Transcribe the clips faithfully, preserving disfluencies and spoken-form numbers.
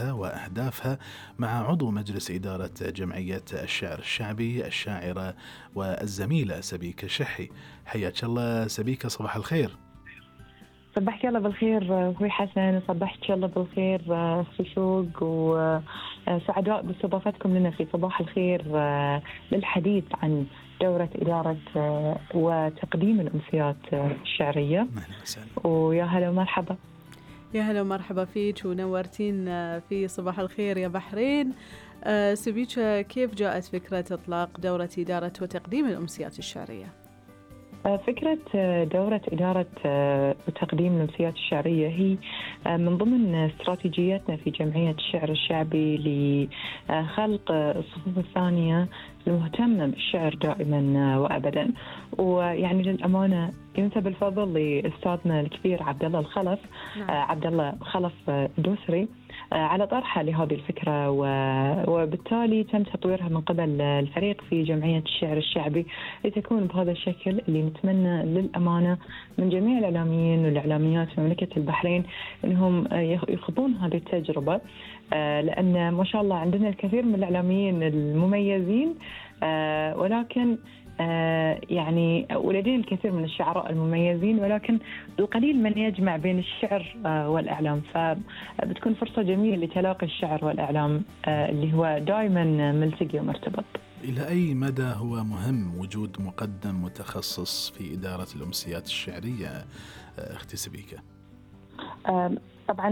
وأهدافها مع عضو مجلس إدارة جمعية الشعر الشعبي الشاعرة والزميلة سبيكة شحي. حياك الله سبيكة، صباح الخير. صبحك الله بالخير أخوي حسن، صبحك الله بالخير أخوي شوق، وسعداء باستضافتكم لنا في صباح الخير للحديث عن دورة إدارة وتقديم الأمسيات الشعرية. ويا هلا ومرحبا. يا هلا ومرحبا فيك ونورتين في صباح الخير يا بحرين. سبيكة، كيف جاءت فكرة إطلاق دورة إدارة وتقديم الأمسيات الشعرية؟ فكرة دورة إدارة وتقديم الأمسيات الشعرية هي من ضمن استراتيجياتنا في جمعية الشعر الشعبي لخلق الصفوف الثانية المهتمة بالشعر دائما وأبدا. ويعني للأمانة ينسب الفضل لأستاذنا الكبير عبد الله الخلف، نعم. عبد الله خلف دوسري على طرحها لهذه الفكرة، وبالتالي تم تطويرها من قبل الفريق في جمعية الشعر الشعبي لتكون بهذا الشكل اللي نتمنى للأمانة من جميع الإعلاميين والإعلاميات في مملكة البحرين أنهم يخوضون هذه التجربة، لأن ما شاء الله عندنا الكثير من الإعلاميين المميزين، ولكن آه يعني ولدينا الكثير من الشعراء المميزين، ولكن القليل من يجمع بين الشعر آه والإعلام. فبتكون فرصة جميلة لتلاقي الشعر والإعلام آه اللي هو دائما ملتقي ومرتبط. إلى أي مدى هو مهم وجود مقدم متخصص في إدارة الأمسيات الشعرية آه أختي سبيكة؟ آه طبعا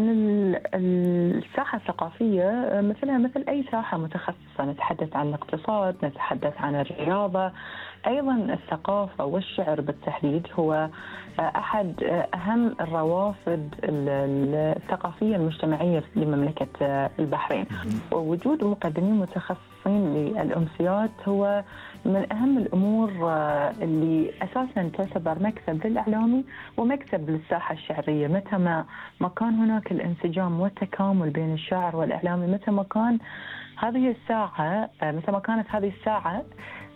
الساحة الثقافية مثلها مثل أي ساحة متخصصة، نتحدث عن الاقتصاد، نتحدث عن الرياضة، أيضا الثقافة والشعر بالتحديد هو أحد أهم الروافد الثقافية المجتمعية لمملكة البحرين. ووجود مقدمين متخصصين للأمسيات هو من أهم الأمور اللي أساساً تعتبر مكسب للإعلامي ومكسب للساحة الشعرية. متى ما ما كان هناك الانسجام والتكامل بين الشاعر والإعلامي، متى ما كان هذه الساعة متى ما كانت هذه الساعة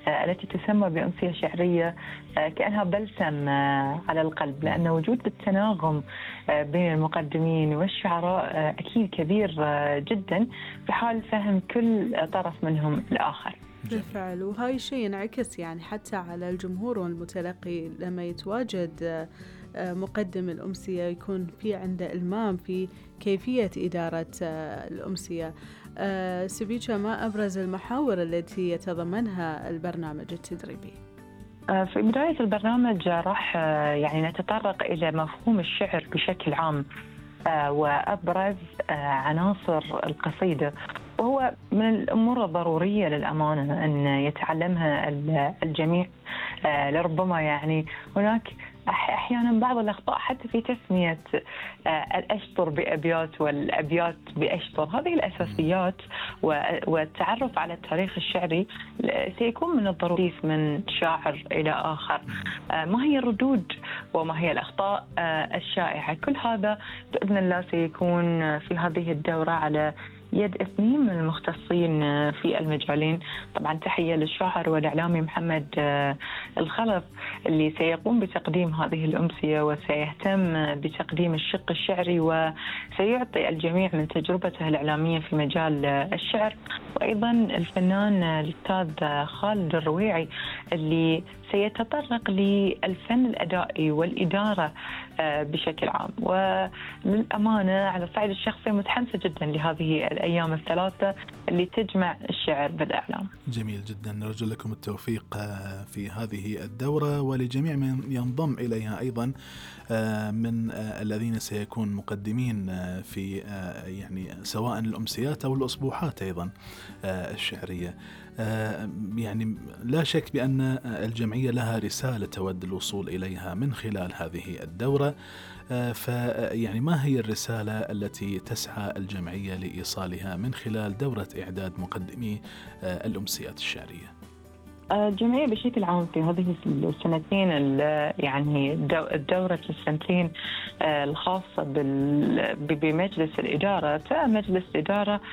التي تسمى بأمسية شعرية كأنها بلسم على القلب، لأن وجود التناغم بين المقدمين والشعراء أكيد كبير جدا في حال فهم كل طرف منهم الآخر. بالفعل، وهاي الشيء ينعكس يعني حتى على الجمهور والمتلقي لما يتواجد مقدم الأمسية يكون في عنده إلمام في كيفية إدارة الأمسية. سبيكة، ما أبرز المحاور التي يتضمنها البرنامج التدريبي؟ في بداية البرنامج راح يعني نتطرق إلى مفهوم الشعر بشكل عام وأبرز عناصر القصيدة، وهو من الأمور الضرورية للأمانة أن يتعلمها الجميع. لربما يعني هناك أحيانا بعض الأخطاء حتى في تسمية الأشطر بأبيات والأبيات بأشطر. هذه الأساسيات والتعرف على التاريخ الشعري سيكون من الضروري من شاعر إلى آخر. ما هي الردود وما هي الأخطاء الشائعة، كل هذا بإذن الله سيكون في هذه الدورة على يد اثنين من المختصين في المجالين. طبعا تحية للشاعر والإعلامي محمد الخلف اللي سيقوم بتقديم هذه الأمسية وسيهتم بتقديم الشق الشعري وسيعطي الجميع من تجربته الإعلامية في مجال الشعر. وأيضا الفنان الأستاذ خالد الرويعي اللي سيتطرق للفن الأدائي والإدارة بشكل عام. وللأمانة على الصعيد الشخصي متحمسة جدا لهذه الأيام الثلاثة اللي تجمع الشعر بالإعلام. جميل جدا، نرجو لكم التوفيق في هذه الدورة ولجميع من ينضم إليها أيضا من الذين سيكون مقدمين في يعني سواء الأمسيات أو الأسبوعات أيضا الشعرية. يعني لا شك بأن الجمعية لها رسالة تود الوصول إليها من خلال هذه الدورة، فيعني ما هي الرسالة التي تسعى الجمعية لإيصالها من خلال دورة إعداد مقدمي الأمسيات الشعرية؟ الجمعية بشكل عام في هذه السنتين يعني الدورة السنتين الخاصة بمجلس الإدارة، مجلس الإدارة